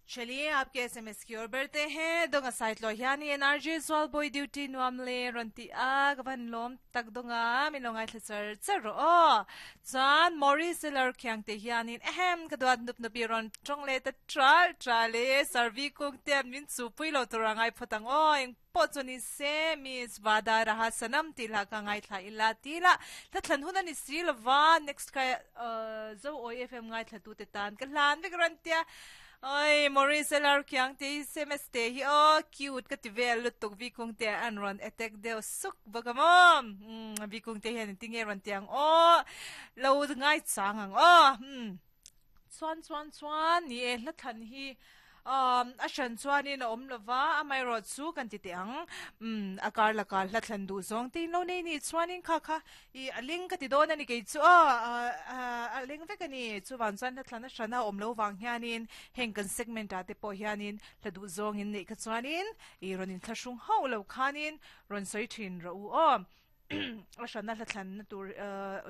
चलिए आपके एसएमएस की ओर बढ़ते हैं donga site lo hian i NRG Zualbawih duty nuam le rawn ti a ka van lawm tak donga min lo ngaithla char char rawh aw chuan Maurice Seller khiang te hianin ehem ka duat nup nup i rawn tawng leh ta tral tral e Sarvi kung te an min chu pui lo tur a ngai phawt ang aw eng pawh chu ni se Miss Vada Raha Sanam tih lah ka ngaithla ila ti lah hla thlan hun a ni si lova next ka Zo Awi FM ngaithla tu te tan ka hlan vek rawn tia Oi Maurice lar khiang te hi sms te hi aw cute ka ti vel lutuk Vikung te an rawn attack deuh suk bawk a maw umm Vikung te hian engtin nge rawn ti ang aw lo ngai chang ang aw umm chuan chuan chuan ni e hla thlan hi umm a hran chuanin a awm lova amaherawh chu kan ti teh ang umm a kar lakah hla thlan duh zawng te in lo nei nih chuanin kha kha Ih a ling ka ti dawn a ni kei chu aw a ling vek a ni. Chuvang chuan hla thlan a hrana awm lo vang hianin heng kan segment ah te pawh hianin hla duh zawngin neih kha chuanin ih rawn inthlahrung hauh lo khanin rawn sawi thin rawh u aw. A hrana hla thlanna tur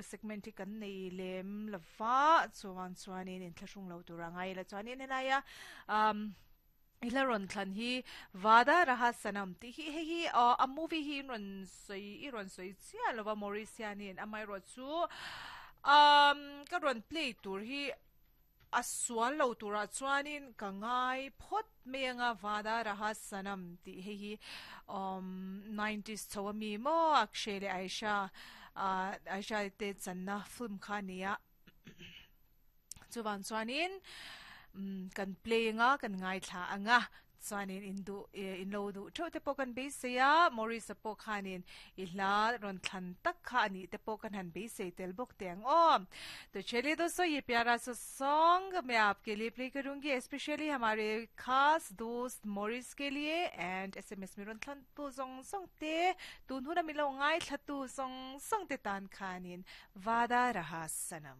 segment hi kan nei lem lo va, chuvang chuanin inthlahrung lo tur a ngai ila chuanin helaia umm. I hla rawn thlan hi Vada Raha Sanam tih hi hei hi aw a movie hi in rawn sawi i rawn sawi chiah lova Maurice hianin amaherawhchu umm ka rawn play tur hi a sual lo turah chuanin ka ngai phawt mai anga Vada Raha Sanam tih hei hi umm nineties chho ami maw Akshay leh Aisha ah Aisha te channa film kha a ni a. Chuvang chuanin kan play anga kan ngaithla anga chuanin in duh in lo duh theuh te pawh kan beisei a Maurice-a pawh khanin i hla rawn thlan tak kha a nih te pawh kan han beisei tel bawk teh ang aw. To chaliye dosto ye pyara sa song main aapke liye play karungi especially hamare khaas dost Maurice ke liye and sms min rawn thlan tu zawng zawng te tun huna min lo ngaithla tu zawng zawng te tan khanin Vada Raha Sanam.